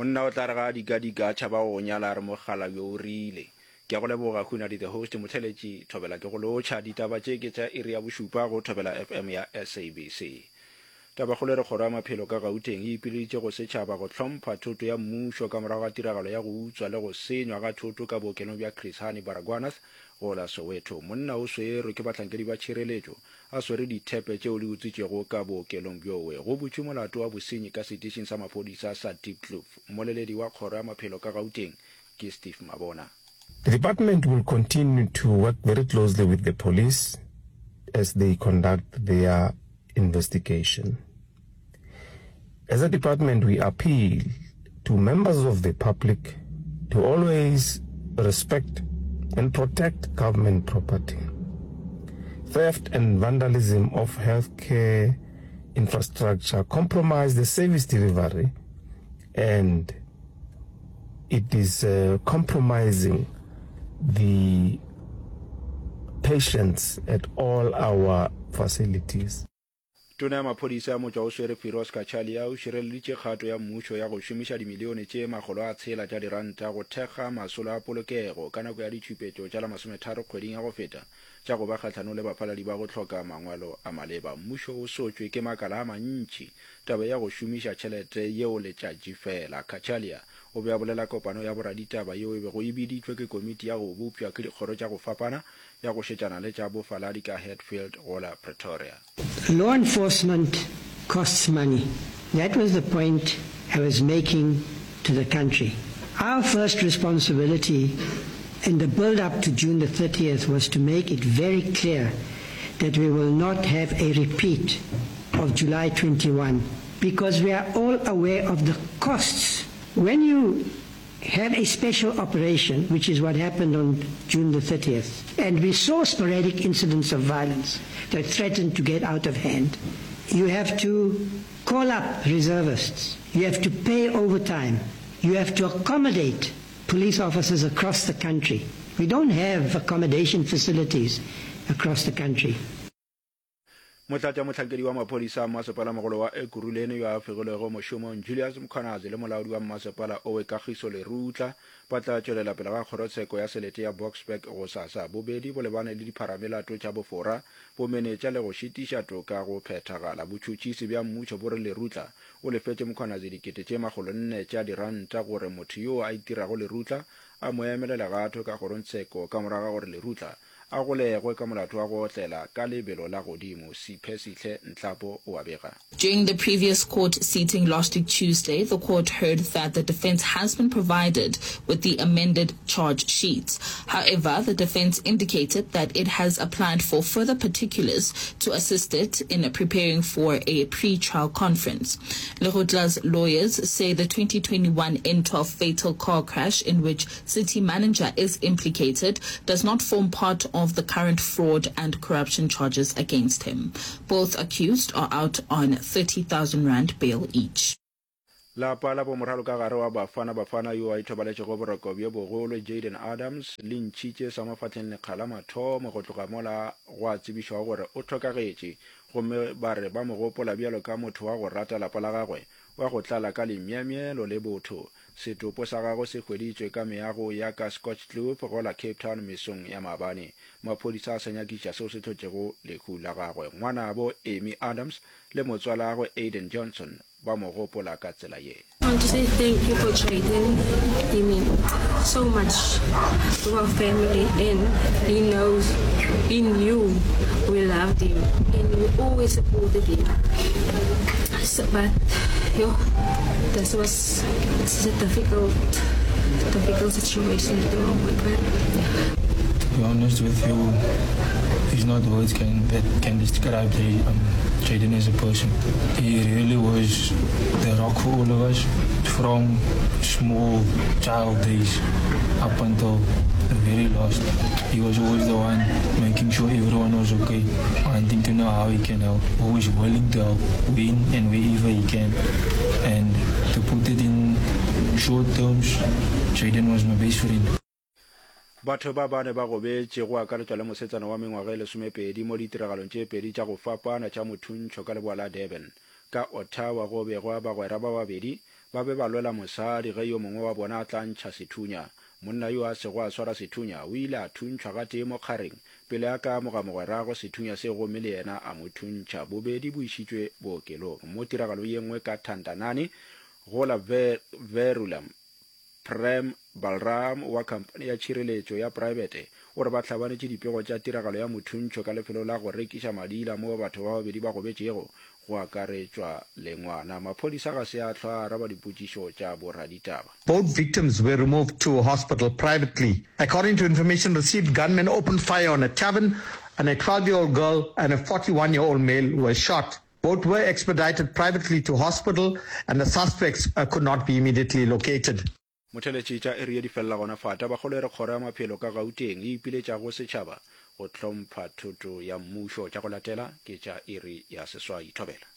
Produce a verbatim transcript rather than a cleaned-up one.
Monna o tla re ga a dikadika a tšhaba go go nyala a re mokgalabje o rile. Ke a go leboga Hunadi the host Motheletši Thobela ke go lotšha. Ditaba tše ke tša iri ya bošupa go Thobela F M ya S A B C. Tabakgolo e re Kgoro ya Maphelo ka Gauteng e ipileditše go setšhaba go hlompha thoto ya mmušo ka morago ga tiragalo ya go utswa le go senywa ga thoto ka bookelong bja Chris Hani Baragwanath go la Soweto. Monna o swerwe ke bahlankedi ba tšhireletšo a swere dithepe tšeo di utswitšwego ka bookelong bjowe. Go butšwe molato wa bosenyi ka setišing sa maphodisa sa Diepkloof. Mmoleledi wa Kgoro ya Maphelo ka Gauteng ke Steve Mabona. The department will continue to work very closely with the police as they conduct their investigation. As a department, we appeal to members of the public to always respect and protect government property. Theft and vandalism of healthcare infrastructure compromise the service delivery and it is uh, compromising the patients at all our facilities. Tona ya Maphodisa ya motšwa o swere Firoz Cachalia o šireleditše kgato ya mmušo ya go šomiša dimilione tše makgolo a tshela tša diranta go thekga masolo a polokego ka nako ya ditšhupetšo tša la masometharo kgweding ya go feta tša go ba kgahlanong le bafaladi ba go hloka mangwalo a maleba. Mmušo o sotšwe ke makala a mantši taba ya go šomiša tšhelete yeo letšatši fela. Cachalia o be a bolela kopano ya boraditaba yeo e bego e biditšwe ke komiti ya go bopša ke dikgoro tša go fapana ya go šetšana le tša bofaladi ka Hatfield go la Pretoria. Law enforcement costs money. That was the point I was making to the country. Our first responsibility in the build-up to June the thirtieth was to make it very clear that we will not have a repeat of July twenty-one, because we are all aware of the costs. When you have a special operation, which is what happened on June the thirtieth, and we saw sporadic incidents of violence that threatened to get out of hand, you have to call up reservists, you have to pay overtime, you have to accommodate police officers across the country. We don't have accommodation facilities across the country. Motlatšamohlankedi wa maphodisa a mmasepalamogolo wa Ekurhuleni yo a fegilwego mošomong Julius Mkhwanazi le molaodi wa mmasepala owe Kagiso Lerutla ba tla tšwelela pele ga kgorotsheko ya selete ya Boksburg gosasa. Bobedi bo lebane le dipharamelato tša bofora, bomenetša le go šitiša toka go phethagala. Botšhotšhisi bja mmušo bo re Lerutla o lefetše Mkhwanazi dikete tše makgolonne tša diranta gore motho yoo a itirago Lerutla a mo emele legato ka kgorongtsheko ka morago ga gore Lerutla a golegwe ka molato wa go otlela ka lebelo la godimo. Siphesihle Nhlapo o a bega. During the previous court seating last week Tuesday, the court heard that the defense has been provided with the amended charge sheets. However, the defense indicated that it has applied for further particulars to assist it in preparing for a pre-trial conference. Lerutla's lawyers say the twenty twenty-one N twelve fatal car crash in which city manager is implicated does not form part of the current fraud and corruption charges against him. Both accused are out on thirty thousand rand bail each. Lapa la bomoralokagare wa Bafana Bafana yo a ithobaletšego boroko bjo bogolo Jayden Adams le ntšhitše sa mafahleng lekga la mathomo go tloga mola gwa tsebišwago gore o hlokagetše, gomme ba re ba mo gopola bjalo ka motho wa go rata lapa la gagwe, wa go tlala ka lemyemyelo le botho. Setopo sa gagwe se hweditšwe ka meago ya ka Scotch Kloof go la Cape Town mesong ya maabane. Maphodisa a sa nyakiša seo se hlotšego lehu la gagwe. Ngwanabo Amy Adams le motswalagwe Aiden Johnson ba mo gopola ka tsela ye. I want to say thank you for Jayden. He meant so much to our family, and he knows, he knew we loved him and we always supported him. So, but yo, this was it's a difficult, difficult situation at the moment. But to be honest with you, there's not words can, that can describe Jay, um, Jayden as a person. He really was the rock for all of us from small child days up until the very last. He was always the one making sure everyone was okay, wanting to know how he can help, always willing to help when and wherever he can. And to put it in short terms, Jayden was my best friend. Batho ba bane ba gobetše, go akaretšwa le mosetsana wa mengwaga e lesomepedi, mo ditiragalong tše pedi tša go fapana tša mothuntšho ka leboa la Durban. Ka Ottawa go begwa bagwera ba babedi ba be ba lwela mosadi ge yo mongwe wa bona a tla ntšha sethunya. Monna yo a sego a swara sethunya o ile a thuntšhwa gatee mo kgareng pele a ka amoga mogweragwe sethunya seo gomme le yena a mo thuntšha. Bobedi bo išitšwe bookelong. Mo tiragalong ye nngwe ka Thandanani go la Verulam, Prem Balram wa khamphani ya tšhireletšo ya praebete o re ba hlabanetše dipego tša tiragalo ya mothuntšho ka lefelong la go rekiša madila moo batho ba babedi ba gobetšego, go akaretšwa le ngwana. Maphodisa ga se a hlwa a araba dipotšišo tša boraditaba. Both victims were removed to hospital privately. According to information received, gunmen opened fire on a tavern and a twelve year old girl and a forty one year old male were shot. Both were expedited privately to hospital and the suspects could not be immediately located. Motheletši tša iri ye di felela gona fa. Tabakgolo e re Kgoro ya Maphelo ka Gauteng e ipiletša go setšhaba go hlompha thoto ya mmušo. Tša go latela ke tša iri ya seswai. Thobela.